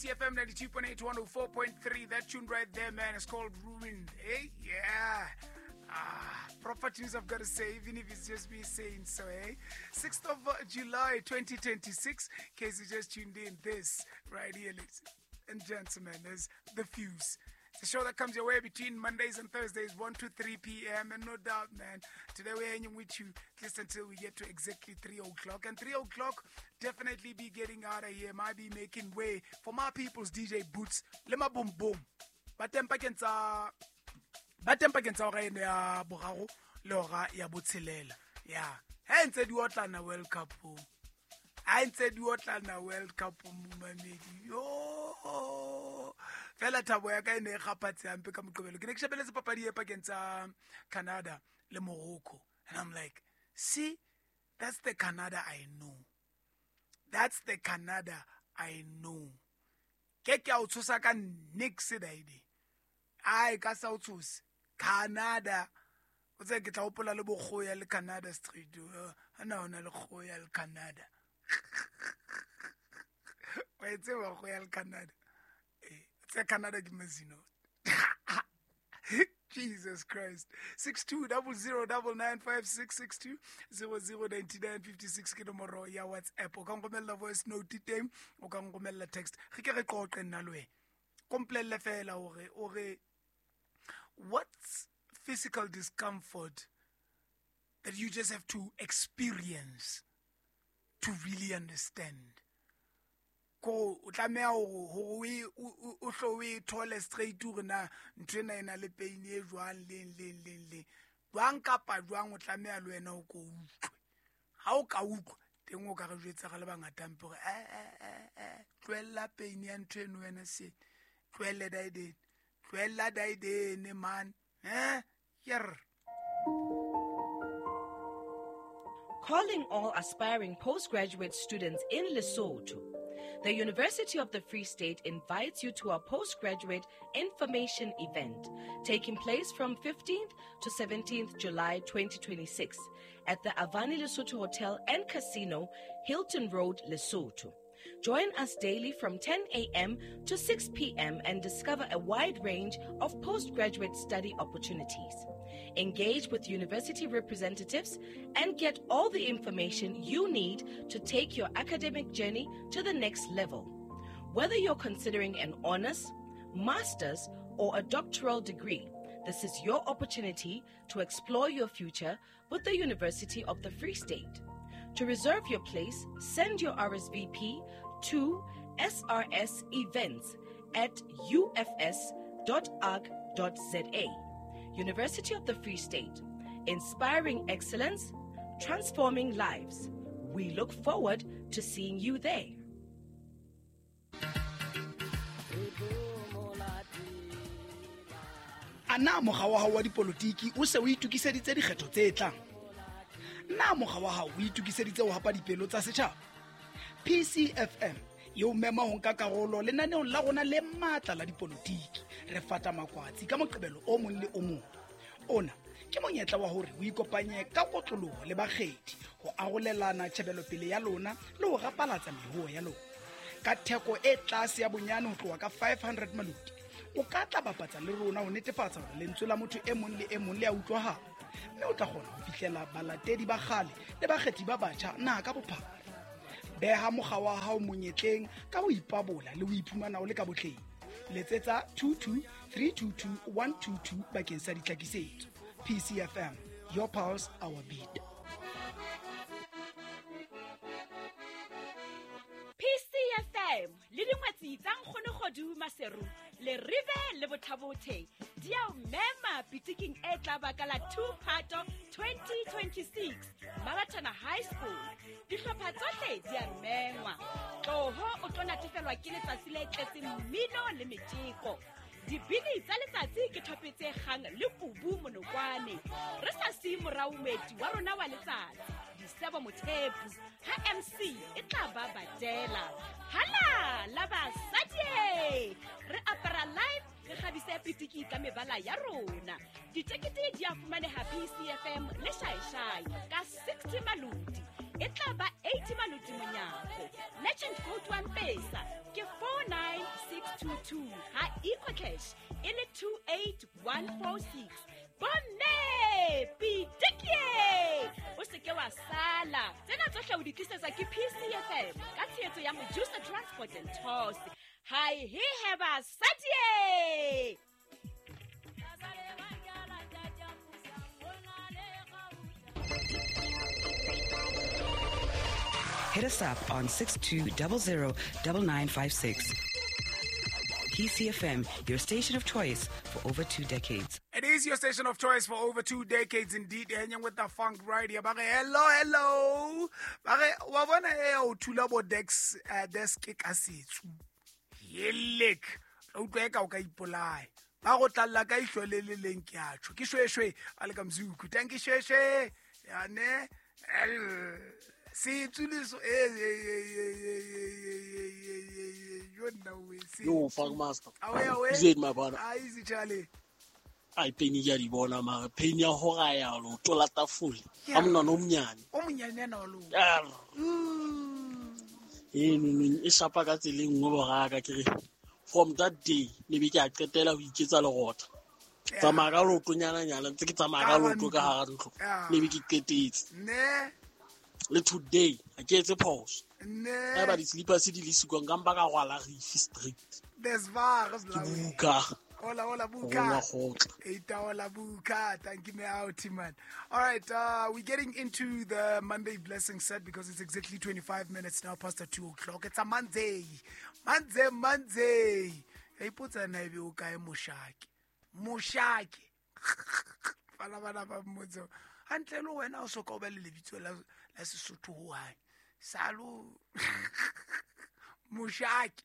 PCFM 92.8 104.3. That tune right there, man, is called Ruined. Eh? Yeah. Ah, proper tunes, I've got to say, even if it's just me saying so, eh? 6th of July 2026. In case you just tuned in, this right here, ladies and gentlemen, is The Fuse. It's a show that comes your way between Mondays and Thursdays, 1 to 3 p.m. And no doubt, man, today we're hanging with you at least until we get to exactly 3 o'clock. And 3 o'clock, definitely be getting out of here. Might be making way for my people's DJ Boots. Lema boom boom. Ba teng pakeng tsa hora eno ya boraro le hora ya botshelela. Yeah. Ha ntse di otlana World Cup. Ha ntse di otlana World Cup, momamedi. Yo. Fela thabo ya ka e ne e kgaphatse hampe ka Moqebelo. Ke ne ke shebeletse papadi e pakeng tsa Canada le Morocco. And I'm like, see, that's the Canada I know. That's the Canada I know. Ke ke a o tshosa ka nix daide. Ai ka sa o tshose. Canada. O tse ke tla hopola le bokgoya le Canada Street. Ana hona le kgoya le Canada. Wa e tseba kgoya le Canada. Tse Canada ke mazino. Jesus Christ. 62009956 62009956 ke nomoro ya WhatsApp. O ka nromella voice note teng, o ka nromella text. Re ke re qoqe nna le wena. Komplelle fela hore o re what's physical discomfort that you just have to experience to really understand. Ko o tlameha hore o hlo o e thole straight hore na ntho ena e na le pain e jwang leng leng leng leng. Jwang kapa jwang o tlameha le wena o ko utlwe. Ha o ka utlwa teng o ka re jwetsa re le bangata mpe hore tlohella pain ya ntho eno wena se. Tlohelle daidene. Tlohella daidene man. Yer. Calling all aspiring postgraduate students in Lesotho. The University of the Free State invites you to a postgraduate information event taking place from 15th to 17th July 2026 at the Avani Lesotho Hotel and Casino, Hilton Road, Lesotho. Join us daily from 10 a.m. to 6 p.m. and discover a wide range of postgraduate study opportunities. Engage with university representatives and get all the information you need to take your academic journey to the next level. Whether you're considering an honors, master's, or a doctoral degree, this is your opportunity to explore your future with the University of the Free State. To reserve your place, send your RSVP to srsevents@ufs.org.za. University of the Free State, inspiring excellence, transforming lives. We look forward to seeing you there. Ana mokga wa hao wa dipolotiki o se o itokiseditse dikgetho tse tlang? Na mokga wa hao o itokiseditse ho hapa dipelo tsa setjhaba? PCFM e o mema ho nka karolo lenaneong la rona le matla la dipolotiki. Re fata makwatsi ka Moqebelo o mong le o mong. Ona ke monyetla wa hore o ikopanye ka kotloloho le bakgethi ho arolelana tjhebelopele ya lona le ho rapalatsa mehoho ya lona. Ka theko e tlase ya bonyane ho tloha ka 500 maloti, o ka tla bapatsa le rona ho netefatsa hore lentswe la motho e mong le e mong le a utlwahala, mme o tla kgona ho fihlela balatedi ba kgale le bakgethi ba batjha naha ka bophara. Beha mokga wa hao monyetleng ka ho ipabola le ho iphumana o le ka botleng. Letsetsa 22322122 bakeng sa ditlhakisetso. PCFM, your pulse, our beat. PCFM le dingwetsi tsa Nkgonogodu Maseru le Rive le Bothabothe di a o mema pitiking e tla baka la 2 Phato 2026 Marathana High School. Dihlopha tsohle di a mengwa. Tloho o tlo natefelwa ke letsatsi le tletseng mmino le metjeko. Dibini tsa letsatsi ke thope tse kgang le kubu monokwane. Re sa siye morao moeti wa rona wa letsatsi, Disebo Mothepu, ha MC e tla ba badela. Hala la basadi! Re apara live, re kgabise pitiki ka mebala ya rona. Ditekete di a fumaneha PCFM le Shaishai ka 60 maloti. E tla ba 80 maloti monyako. Legend code 1 pesa ke 49 2 ha EcoCash e le 28146. Bomme pitikie, o se ke wa sala. Tsena tsohle o di tlisetswa ke PCFM ka tshehetso ya Mojusa Transport and Tours. Hai he heba sadie. Hit us up on 6200 9956. PCFM, your station of choice for over 2 decades. It is your station of choice for over 2 decades indeed. Hanging with the funk right here. Bare hello, hello. Bare wa bona e o thula bo desk desk ka setsu. Yelek. O utlwe ka o ka ipolaya. Ba go tlalla ka ihlo le le leng ke a tjho. Ke shweshwe a le ka mzuku. Thank you shweshwe. Ya ne. Setsu le so Yo, fuck master. Awe. Is it my brother? Ah, easy Charlie. I pain ya di bona mara pain ya hora ya lo tola tafole. A mona no mnyane. O mnyane na lo. E no e shapa ka tseleng nngwe boraka ke re from that day ne be ke a qetela ho iketsa lerotha. Tsamaya ka loto nyana nyana ntse ke tsamaya ka loto ka hara ntlo. Ne be ke qetetse. Ne. Le today a ke etse pause. Ne. Ba di slippers di le sikwa nka mpa ka rwala rifi street. There's virus la. Buka. Hola, hola, Buka. Hola, hola, Buka. Thank you, me out, man. All right, we're getting into the Monday blessing set because it's exactly 25 minutes now past the 2 o'clock. It's a Monday. Monday, Monday. Hey, put an ivy, okay, Moshaki. Moshaki. Fala, bana, ba motso. Hantle le wena o soka o ba le lebitso la Sesotho ho hae. Salo. Moshaki.